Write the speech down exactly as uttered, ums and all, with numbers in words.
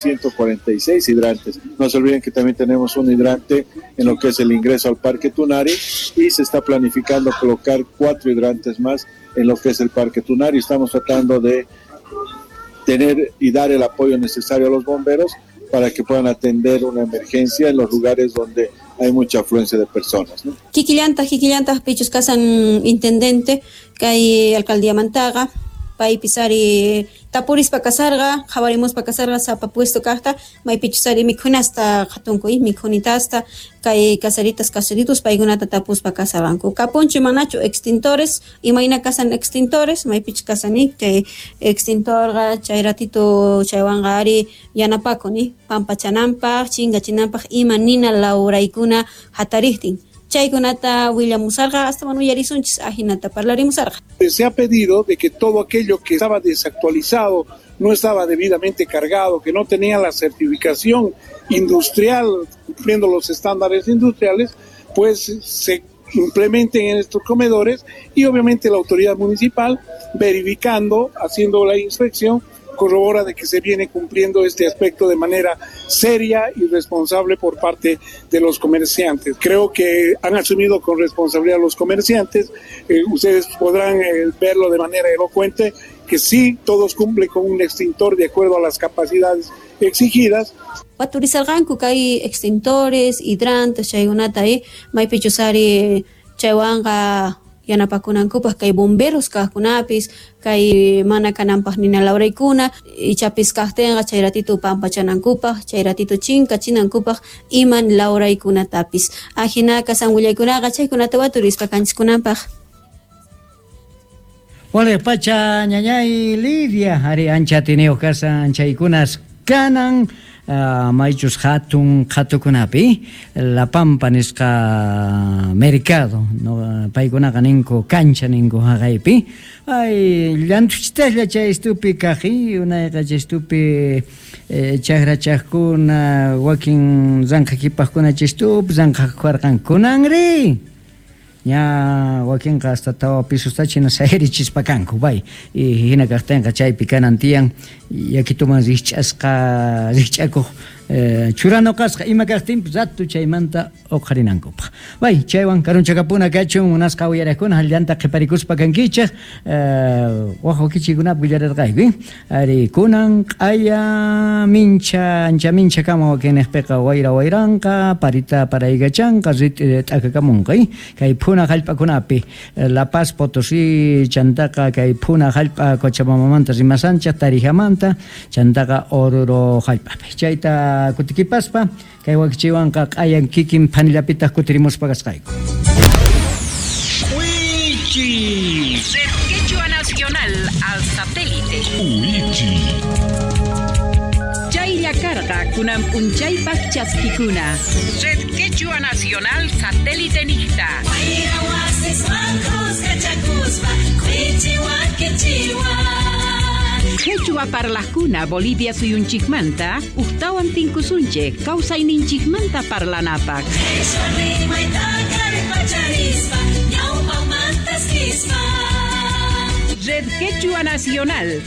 ciento cuarenta y seis hidrantes. No se olviden que también tenemos un hidrante en lo que es el ingreso al Parque Tunari y se está planificando colocar cuatro hidrantes más en lo que es el Parque Tunari. Estamos tratando de tener y dar el apoyo necesario a los bomberos para que puedan atender una emergencia en los lugares donde hay mucha afluencia de personas, ¿no? Kikillantaq, kikillantaq, pichus kasan intendente, kay alcaldía Mantaga, paypis ari tapurispa kasarqa, qhawarimuspa kasarqa sapa puesto kaqta, maypichus ari mikhunasta qhatunku, mikhunitasta, kay caseritas, caseritos, paykunata tapuspa kasarqanku. Kapunchu manachu extintores, imayna kasan extintores, maypichus kasani, chay extintorqa, chay ratito chaywanqa ari yanapakun, pampachananpaq, chinkachinanpaq, ima nina lawraykuna hatariqtin. Chaykunata willamusarqa, hasta uyarisunchis, ajinata parlarimusarqa. Se ha pedido de que todo aquello que estaba desactualizado, no estaba debidamente cargado, que no tenía la certificación industrial, cumpliendo los estándares industriales, pues se implementen en estos comedores y obviamente la autoridad municipal, verificando, haciendo la inspección, corrobora de que se viene cumpliendo este aspecto de manera seria y responsable por parte de los comerciantes. Creo que han asumido con responsabilidad los comerciantes. Eh, ustedes podrán, eh, verlo de manera elocuente, que sí, todos cumplen con un extintor de acuerdo a las capacidades exigidas. Waturizarqanku kay extintores, hidrantes, chaykunata, eh, maypichus ari chaywanqa yanapakunankupaq kay bomberos kaqkunapis, kay mana kananpaq nina lawraykuna, ichapis kaqtinqa chay ratito pampachanankupaq, chay ratito chinkachinankupaq iman lawraykunatapis. Ajinaqa San willaykunaqa chaykunata waturispa kanchiskunanpaq. Wale pacha ñañay Lidia, ari ancha tiniyuq kasan chaykunas kanan. Uh, maychus hatun qhatukunapi La Pampa nisqa mercado, no, paykunaqa ninku cancha ninku haqaypi ay llantuchitaslla chay estupi kaqi unayqa chay estupi eh, chakrachaqkuna wakin ranqhakipaqkuna chay estupi ranqhakuarqan kunanri ña wakinqa hasta tawa pisusta china sayarichispa kanku bay y hina kaqtinqa chaypi kanan tiyan yakituman rikch'asqa rikch'akuq eh, churanoqasqa ima kaqtinpis ratu chaymanta uqharinankupaq bay chaywan karunchakapuna kachun munasqa uyariqkuna hallanta qhiparikuspa kankichaq eh, waq wakichikunapi willararqayku ari kunan q'aya mincha ancha mincha kama wakinniqpiqa wayra wayranqa parita paraykachanqa rit'i t'akakamunqa kay phuna hallp'akunapi La Paz Potosí chantaqa kay phuna hallp'a Cochabambamanta rimasanchaq Tarijamanta chantaqa Oruro hallp'api chayta kutikipaspa kay wakichiwanqa q'ayan kikin phanillapitaq kutirimuspa kasqayku. Wichi. Red Quechua Nacional al satélite. Wichi. Chaylla karqa kunan p'unchaypaq chaskikuna. Red Quechua Nacional satélite niqta. Quechua parlaqkuna Bolivia suyunchikmanta uqtawan tinkusunchik kawsayninchikmanta parlanapaq. Red Quechua Nacional.